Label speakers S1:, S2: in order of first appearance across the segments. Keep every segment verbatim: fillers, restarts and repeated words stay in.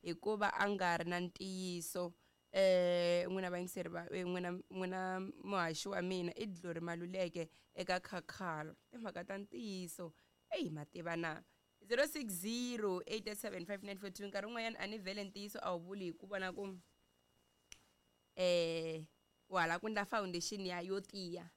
S1: Hikuva a nga ri na ntiyiso. Eh n'wina vayingiseri va n'wina n'wina muhaxi wa mina i Glory Maluleke eka Khakhala. Timhaka ta ntiyiso. Eyi ma tiva na. zero six zero eight seven five nine four two nkarhi wun'wanyana a ni vhele ntiyiso a wu vuli hi ku vona ku eh wala ku ndla foundation ya yo tiya.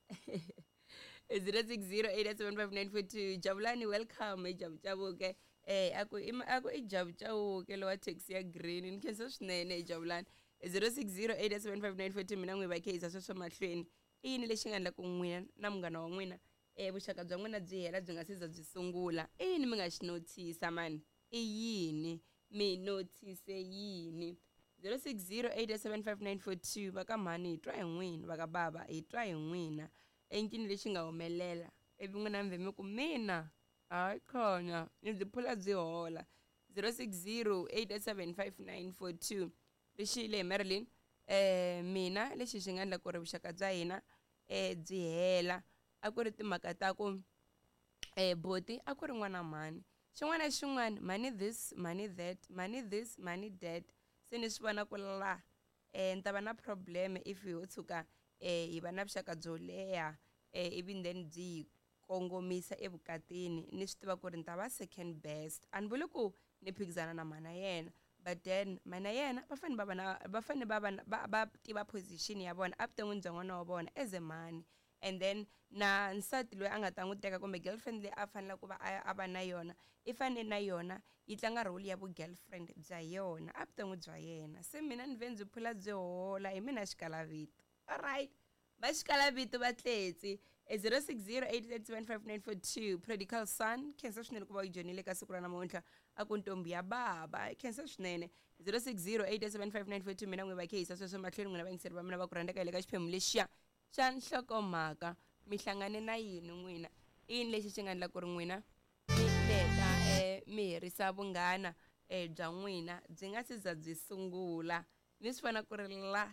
S1: zero six zero eight seven five nine four two Jabulani, welcome Jabujabuke. Eh aku a ku i Jabujabuke lowa taxi ya green. Ni khensa swinene Jabulani. zero six zero eight seven five nine four two mina n'wi va khensa sweswo mahlweni. I yini lexi nga endla ku n'wina na munghana wa n'wina eh vuxaka bya n'wina byi hela byi nga se za byi sungula? I yini mi nga xi notice mani? I yini mi notice yini? zero six zero eight seven five nine four two va ka mhani hi twa hi n'wina, va ka bava hi twa hi n'wina. Encini lexi nga humelela ivi n'wina mi vhe mi ku mina hayi khona ni byi phula byi hola. zero six zero eight seven five nine four two rixile hi Marilyn. Eh mina lexi xi nga endla ku ri vuxaka bya hina eh byi hela a ku ri timhaka ta ku eh boti a ku ri n'wana mhani, xin'wana na xin'wana mhani this mhani that mhani this mhani that. Se ni swi vona ku la eh ni ta va na problem if ho tshuka eh hi va na vuxaka byo leha eh ivi then byi kongomisa evukatini. Ni swi tiva ku ri ni ta va second best. A ni vuli ku ni phikizana na mhana yena, but then mhana yena va fanele va va na va fanele va va va va tiva position ya vona evuton'wini bya n'wana wa vona as a mhani. And then na nsati loyi a nga ta n'wi teka kumbe girlfriend leyi a faneleke ku va a va na yona i fanele na yona yi tlanga role ya vu girlfriend bya yona evuton'wini bya yena. Se mina ni ve ndzi phula byi hola hi mina xikalavito. Alright, va xikalavito va tletsi. zero six zero eight eight seven five nine four two Prodigal Son, khensa swinene ku va u joinile ka siku ra namuntlha. A ku ntombi ya baba, khensa swinene. zero six zero eight seven five nine four two mina n'wi va khehisa sweswo mahlweni n'wina vayingiseri va mina va ku rhandzeka hi le ka xiphemu lexiya xa nhlokomhaka. Mi hlangane na yini n'wina? I yini lexi xi nga endla ku ri n'wina mi leta eh mi herisa vunghana eh bya n'wina byi nga se za byi sungula? Mi swi vona ku ri la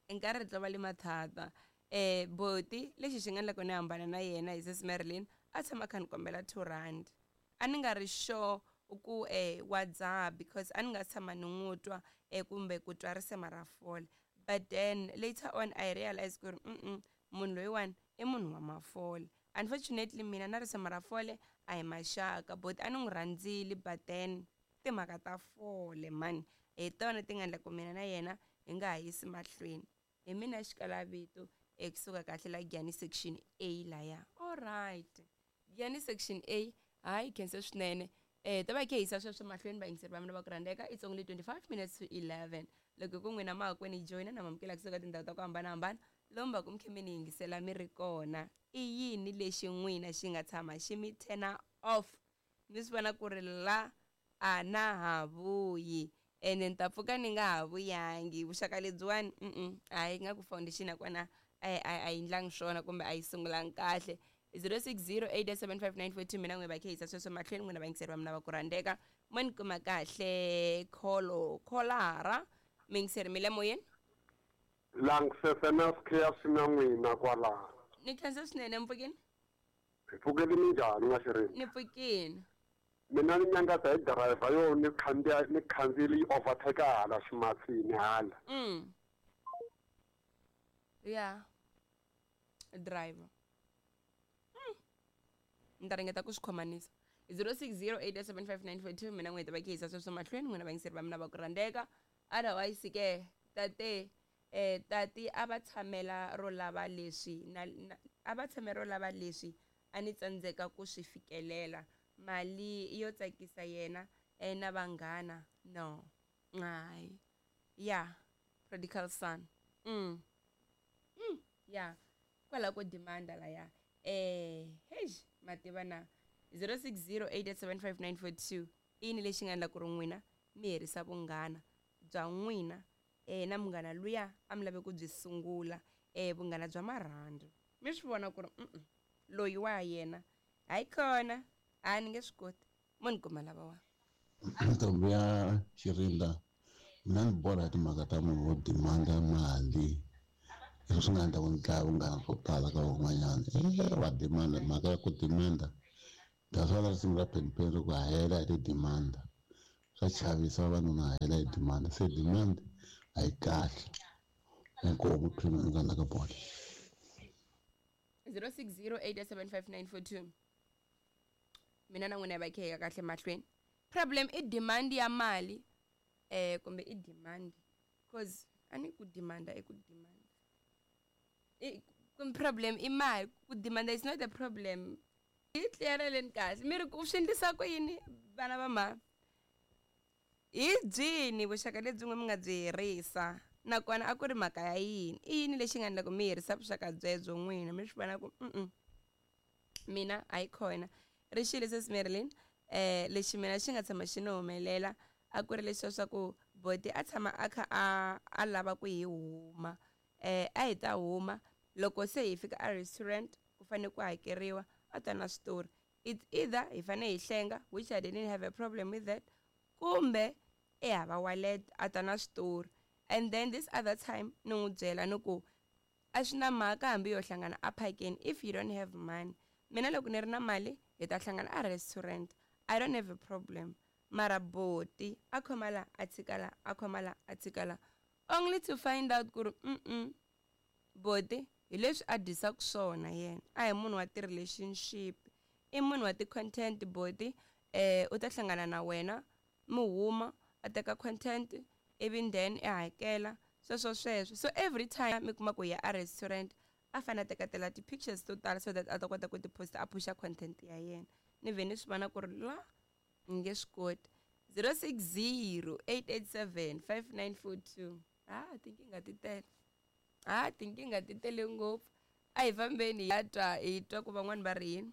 S1: nkarhi ri tlo va le mathata. Eh boti lexi xi nga endla ku ni hambana na yena hi sis Marilyn a tshama kha ni kombela two rand. A ni nga ri sure ku eh wa dzaha because a ni nga tshama ni n'wi twa eh kumbe ku twa risema ra fole. But then later on I realized ku ri mm munhu loyiwani i munhu wa mafole. Unfortunately mina na risema ra fole a hi maxaka. Boti a ni n'wi rhandzile, but then timhaka ta fole mani hi tona ti nga endla ku mina na yena hi nga ha yisi mahlweni. Hi mina xikalavito ekusuka kahle la Giyani section A laya. Alright, Giyani section A, hayi khensa swinene. Eh ta va khe hisa sweswo mahlweni vayingiseri va mina va ku rhandzeka. It's only twenty-five minutes to eleven. Loko ku n'wina mahakwini joyina na mamukela kusuka tindhawu ta ku hambanahambana lomu va ku mi khe mi ni yingisela mi ri kona. I yini lexi n'wina xi nga tshama xi mi turn off? Mi swi vona ku ri la a na ha vuyi ene ni ta pfuka ni nga ha vuyangi. Vuxaka lebyiwani mm hayi nga ku foundation ya kona a a yi ndlangi swona kumbe a yi sungulangi kahle. zero six zero eight seven five nine four two mina n'wi va khehisa sweswo mahlweni n'wina vayingiseri va mina va ku rhandzeka. Mo ni kuma kahle kholo kholara miyingiseri mi le moyeni.
S2: Langisese na sikhiya na n'wina kwalaho.
S1: Ni khensa swinene. Mpfukini?
S2: Hi pfukeli minjhani n'wa Xirindza?
S1: Ni pfukini.
S2: Mina ni nyangaza hi driver yo ni khandziya ni khandziyile yi overtake hala ximatsini hala.
S1: Mm. Yeah. Driver. Ni ta ringeta ku swi khomanisa. zero six zero eight seven five nine four two mina n'wi ta va khehisa sweswo mahlweni n'wina vayingiseri va mina va ku rhandzeka. Otherwise ke tate eh tati a va tshamela ro lava leswi na a va tshamela ro lava leswi a ni tsandzeka ku swi fikelela. Mali yo tsakisa yena eh na vanghana no. Hayi. Yeah, Prodigal Son. Mm. Mm, yeah. Kwala ko demanda la ya. Eh, hey, mativa na zero six zero eight seven five nine four two i yini lexi nga endla ku ri n'wina mi herisa vunghana bya n'wina eh na munghana luya a mi lave ku byi sungula eh vunghana bya marhandzu? Mi swi vona ku ri mm loyi wa yena hayi khona a ni nge swi koti. Mo ni kuma lava wa
S3: ntombi ya Xirindza. Mina ni borha hi timhaka ta munhu wo demanda mali. Leswi swi nga endla ku ni dlaya vunghana swo tala ka van'wanyana. E wa demanda, mhaka ya ku demanda. That's why risimu ra Penny Penny ri ku hela hi ti demanda. Swa chavisa vavanuna hela hi demand, se demand a yi kahle. Inkomu phina la ka bolo.
S1: zero six zero eight seven five nine four two. Mina na n'wina hi va khe hi ya kahle mahlweni. Problem i demand ya mali eh kumbe i demand, cause a ni ku demanda i ku demand. I kumbe problem i mali, ku demanda is not a problem. Hi tliyareleni kahle mi ri ku swi endlisa ku yini vana va mhani? Hi byini vuxaka lebyi n'we mi nga byi herisa, nakona a ku ri mhaka ya yini? I yini lexi nga endla ku mi herisa vuxaka byebyo n'wina mi swi vona ku mm mina a yi kona? Ri xile sesi Marilyn, eh lexi mina xi nga tshama xi ni humelela a ku ri leswiya swa ku boti a tshama a kha a a lava ku hi huma, eh a hi ta huma loko se hi fika a restaurant ku fanele ku hakeriwa, a ta na switori. It's either hi fanele hi hlenga, which I didn't have a problem with that, kumbe i hava wallet a ta na switori. And then this other time ni n'wi byela ni ku a swi na mhaka hambi yo hlangana a phakeni if you don't have money. Mina loko ni ri na mali hi ta hlangana a restaurant, I don't have a problem. Mara boti a khoma la a tshika la, a khoma la a tshika la, only to find out ku ri mm boti hi leswi a dyisaka swona yena a hi munhu wa ti-relationship, i munhu wa ti-content. Boti eh u ta hlangana na wena mi huma a teka content ivi then i hakela sweswo sweswo. So every time mi kuma ku ya a restaurant a fanele a teketela ti-pictures to tala so that a ta kota ku ti posta a pusha content ya yena. Ni vhe ni swi vona ku ri la ni nge swi koti. zero six zero eight eight seven five nine four two. Ah, tinkingha ti tele, ah tinkingha ti tele ngopfu. A hi fambeni hi ya twa hi twa ku van'wani va ri yini.